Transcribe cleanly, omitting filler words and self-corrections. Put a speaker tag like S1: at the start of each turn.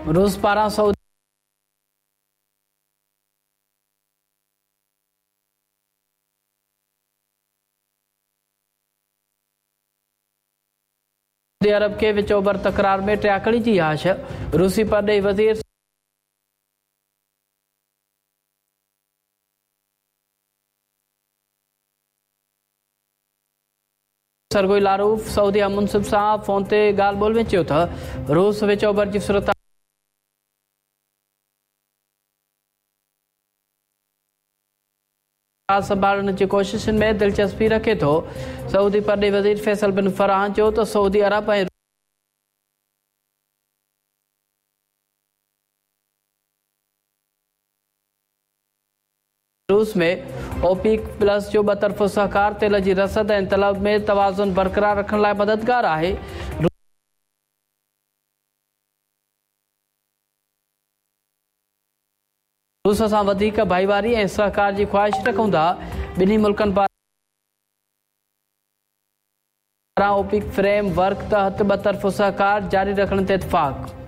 S1: روس پاران سعودي عرب کي وچ اوڀر تڪرار ۾ ٽياڪڙي جي آڇ، روسي پرڏيهي وزير سرگوئي لاروف سعودي هم منصب سان فون تي ڳالهه ٻولهه ۾ چيو ته روس وچ اوڀر جي صورتحال سنڀالڻ جي ڪوششن ۾ دلچسپي رکي ٿو. سعودي پرڏيهي وزير فيصل بن فرحان چيو ته سعودي عرب ۽ روس ۾ اوپيڪ پلس جو ٻطرفو سهڪار تيل جي رسد ۽ طلب ۾ توازن برقرار رکڻ لاء مددگار آهي. روس سان وڌيڪ ڀائيواري ۽ سهڪار جي خواهش رکون ٿا، ٻنهي ملڪن پاران اوپيڪ فريم ورڪ تحت ٻطرفو سهڪار جاري رکڻ تي اتفاق.